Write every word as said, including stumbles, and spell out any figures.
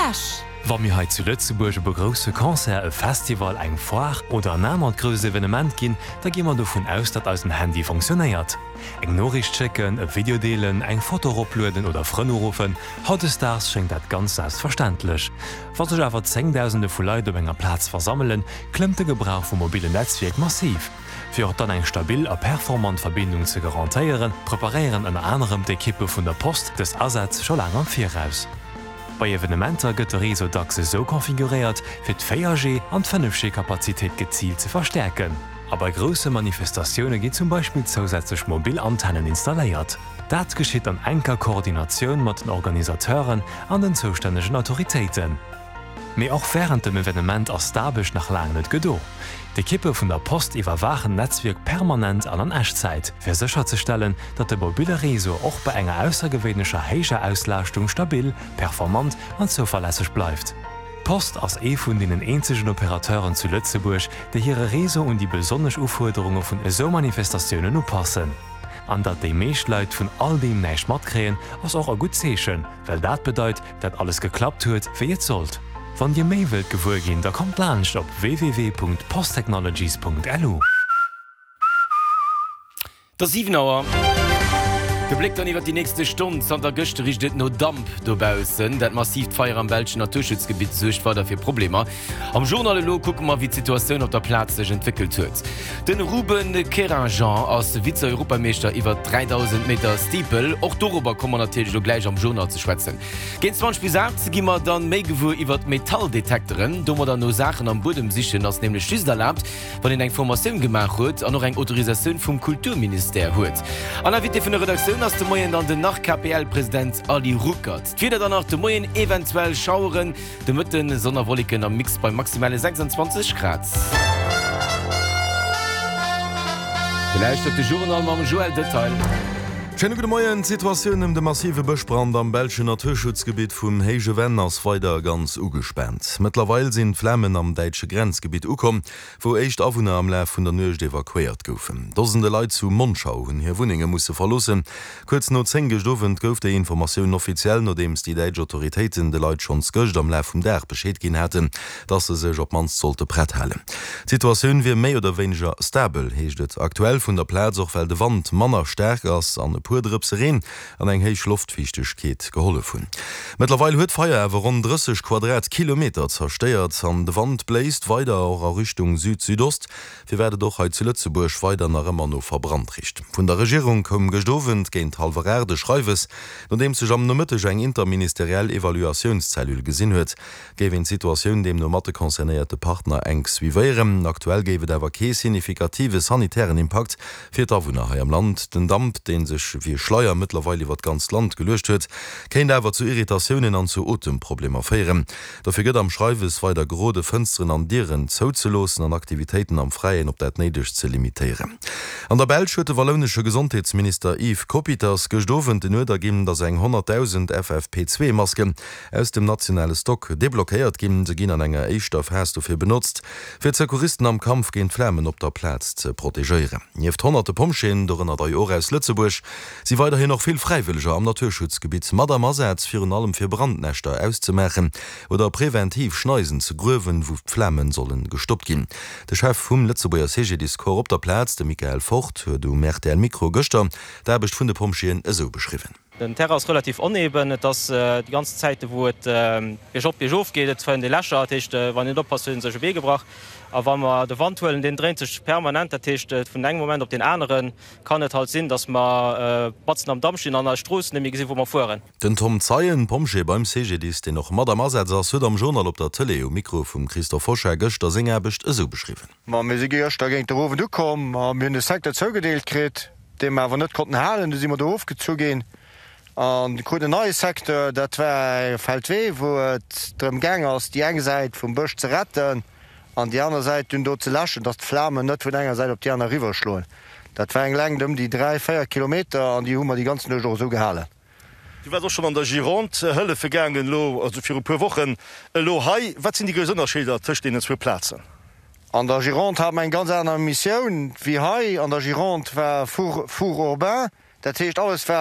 Esch. Wa mir hei zu Lëtzebuerg op e grousse Concert, e Festival, eng Foire oder en anert grousst Evenement ginn, da gi mer dovun aus, datt eisen Handy funktionéiert. Eng Noriicht schécken, e Video deelen, eng Foto eroplueden oder Frënn uruffen, hautdesdaags schéngt dat ganz selbstverständlech. Wa sech awer Zéngdausende vu Leit op enger Plaz versammelen, klëmmt de Gebrauch vum mobillen Netzwierk massiv. Fir och dann eng stabil a performant Verbindung ze garantéieren, preparéieren ënner anerem d'Ekippe vun der Post dës Asätz scho laang am Viraus. Bei Evenementer gëtt de Réseau dacks esou konfiguréiert, fir d'Véier G an d'Fënnef G Kapazitéit geziilt ze verstäerken. A bei grousse Manifestatioune ginn zum Beispill zousätzlech mobil Antennen installéiert. Dat geschitt an enker Koordinatioun mat den Organisateuren an den zoustännegen Autoritéiten. Mee och wärend dem Evenement ass d'Aarbecht nach laang net gedo. D'Ekippe vun der Post iwwerwaachen d'Netzwierk permanent an an Echtzäit, fir sécherzestellen, datt de mobille Réseau och bei enger aussergewéinlecher héijer Auslaaschtung stabil, performant an zouverlässeg bleift. D'Post ass ee vun deenen eenzegen Operateuren zu Lëtzebuerg, déi hire Réseau un déi besonnesch Ufuerderunge vun esou Manifestatiounen upassen. An datt déi meescht Leit vun all deem näischt matkréien, ass och e gutt Zeechen, well dat bedeit, dat alles geklappt huet, wéi et sollt. Wann Dir méi wëllt gewuer ginn, da kommt laanscht op www.posttechnologies.lu. Et ass siwen Auer. De Bléck dann iwwer déi nächste Stonn, Zanter gëschter richt et no Damp dobaussen. Dat massiivt Feier am belschen Naturschutzgebitt suergt weider fir Problemer. Am Journal elo kucke mer, wéi d'Situatioun op der Plaz sech entwéckelt huet. De Ruben Querinjean ass Vize-Europameeschter iwwer dräidausend Meter Steeple. Och dorobber komme mer natierlech elo gläich am Journal ze schwätzen. Géint zwanzeg bis aacht gi mer dann méi gewuer iwwer Metalldetekteren. Domadder no Saachen am Buedem sichen ass nämlech just erlaabt, wann een eng Formatioun gemaach huet an och eng Autorisatioun vum Kulturministère huet. An Invité vun der Redaktioun ass de Moien dann den Nach-KPL-President Ali Ruckert. D'Wieder dann nach de Moien, eventuell Schaueren, de Mëtten Sonn a Wolleken am Mix bei maximale sechsundzwanzeg Grad. Dir lauschtert de Journal mam Joël Detail. Schéine gudde Moien. D'Situatioun ëm de massive Bëschbrand am belschen Naturschutzgebitt vum Héije Venn ass weider ganz ugespaant. Mëttlerweil sinn d'Flamen am däitsche Grenzgebitt ukomm, wou éischt Awunner am Laf vun der Nuecht evakuéiert goufen. Dosende Leit zu Monschau hunn hir Wunnenge musse verloossen. Kuerz no zéng gëscht Owend gouf déi Informatioun offiziell, nodeems déi däitsch Autoritéiten de Leit schonns gëscht am Laf vum Dag Bescheed ginn haten, dass se sech op d'mannst sollte prett halen. D'Situatioun wier méi oder wéineger stabel, heescht et aktuell vun der Plaz, och well de Wand manner staark ass an e puer Drëpse Reen an eng héich Loftfiichtegkeet gehollef hunn. Mëttlerweil huet d'Feier awer ronn drësseg Quadratkilometer zerstéiert an de Wand bléist weider och a Richtung Süd-Südost, firwat et och hei zu Lëtzebuerg weider nach ëmmer no verbrannt richt. Vun der Regierung koum gëscht Owend géint hallwer aacht e Schreiwes, nodeems sech am Nomëtteg eng interministeriell Evaluatiounscellule gesinn huet. Géif een d'Situatioun deemno mat de concernéierte Partner enk suivéieren. Aktuell géif et awer kee signifikative sanitären Impakt fir d'Awunner hei am Land. Den Damp, dee sech wéi e Schleier mëttlerweil iwwer d'ganzt Land geluecht huet, kéint awer zu Irritatiounen an zu Otemproblemer féieren. Dofir gëtt am Schreiwes weider gerode, Fënsteren an Dieren zouzeloossen an Aktivitéiten am Fräien op dat Néidegst ze limitéieren. An der Belsch huet de wallounesche Gesondheetsminister Yves Coppieters gëscht Owend den Uerder ginn, datt eng honnertdausend F F P zwee Masken aus dem nationale Stock deblockéiert ginn. Se ginn an enger éischter Phas dofir benotzt, fir d'Secouristen am Kampf géint d'Flamen op der Plaz ze protegéieren. Nieft honnerte Pompjeeën, dorënner der jo och aus Lëtzebuerg, si weiderhin och vill Fräiwëlleger am Naturschutzgebitt mat am Asaz, virun allem fir Brandnäschter auszemaachen oder preventiv Schneisen ze gruewen, wou d'Flame solle gestoppt ginn. De Chef vum Lëtzebuerger C G D I S-Corps op der Plaz, de Michael Fort, huet um R T L-Mikro gëschter d'Aarbecht vun de Pompjeeën esou beschriwwen. Den Terrain ass relativ oneben, et ass déi ganz Zäite wou et biergop biergof geet, et fënnt ee Lächer, dat heescht wann een net oppasst huet ee sech e Bee gebrach. A wa mer de Wand huelen, deen dréint sech permanent, dat heescht vun engem Moment op deen anere kann et halt sinn, datt mer matzen am Damp stinn an eis Strooss net méi gesinn, wou mer fueren. Den Tom Zeien, Pompjee beim C G D I S, deen och mat am Asaz ass, huet am Journal op der Tëlee um Mikro vum Christophe Hochard gëschter seng Aarbecht esou beschriwwen. Ma mir si gëschter géint der Owend ukomm a mir hunn e Secteur zougedeelt kritt, dee mer awer net konnten halen, du si mer do ofgezu ginn an kruten en neie Secteur, dat war e Feldwee, wou et drëm gaang ass, déi eng Säit vum Bësch ze retten an déi aner Säit dunn do ze läschen, dass d'Flamen net vun enger Säit op déi aner eriwwerschloen. Dat war eng Längt ëm déi dräi, véier Kilometer an déi hu mer déi ganz Nuecht och esou gehalen. Du waars och schonn an der Gironde hëllefe gaangen elo, also viru puer Wochen elo hei. Wat sinn déi grouss Ënnerscheeder tëscht deenen zwou Plazen? An der Gironde hate mer eng ganz aner Missioun wéi hei. An der Gironde war Four, four urbain, dat heescht alles war.